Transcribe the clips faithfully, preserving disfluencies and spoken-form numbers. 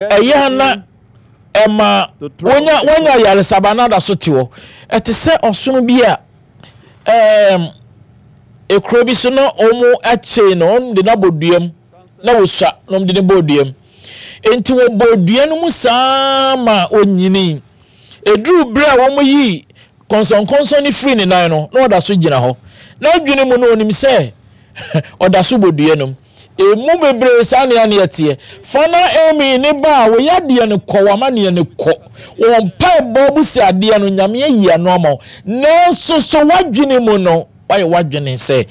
Ɛyɛ a na ɛma wonya wonya ayaresaba na ada so te hɔ. Ɛte sɛ ɔsono bi a ɛɛm ekuro bi so na wɔn akyee no, wɔn de no abɔ dua mu na wɔsua na wɔn de no bɔ dua mu. Nti wɔbɔ dua no mu saa ma onyini. Eduru bere a wɔn yi kɔnsɔnkɔnsɔn no firi ne nan no, na ɔda so gyina hɔ. N'adwene mu no onim sɛ ɔda so bɔ dua no mu. Emu bebree saa nea ne ɛteɛ. Fa na Amy ne ba a wo yadeɛ no kɔ, w'amaneɛ no kɔ. Wo mpaebɔ bu sɛ adeɛ no, Nyame ayi ano ama wo. Nanso so w'adwene mu no, woayɛ w'adwene sɛ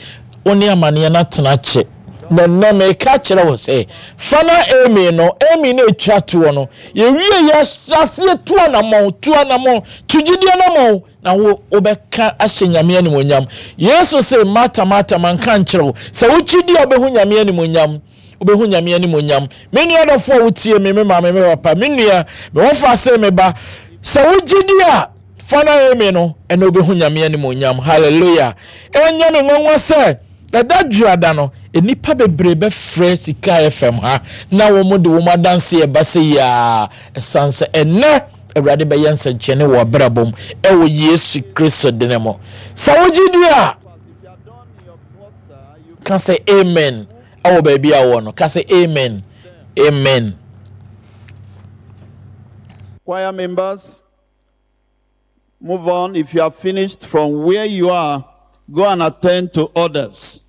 wo ne amaneɛ no atena kyɛ. Na nnɛ meka kyerɛ wo sɛ, fa na Amy no, Amy no ɛtwa toɔ no, yɛwie yɛ aseɛ tu anammɔn, tu anammɔn, tu gyidie anammɔn, na wo wobɛka ahyɛ Nyame animuonyam. Yesu se, Marta, Marta, manka nkyerɛ wo sɛ wokyi di a wobɛhu Nyame animuonyam? Wobɛhu Nyame animuonyam. Me nua dɔfo a wotie me, me maame, me papa, me nua, me wɔfa se me ba, sɛ wogye di a, fa na emi no, ɛna wobɛhu Nyame animuonyam. Hallelujah. Ɛnyɛ me nwanwa sɛ ɛda dwoada no, nnipa bebree bɛfrɛ Sika F M ha na wɔn de wɔn adanse ɛba sɛ yaa, ɛsan sɛ ɛnɛ Awurade bɛyɛ nsɛnkyerɛnne wɔ abrabɔ mu ɛwɔ Yesu Kristo din mu. Sɛ wogye di a, ka sɛ amen ɛwɔ baabi a wɔ no. Ka sɛ amen, amen. Choir members, move on. If you are finished from where you are, go and attend to others.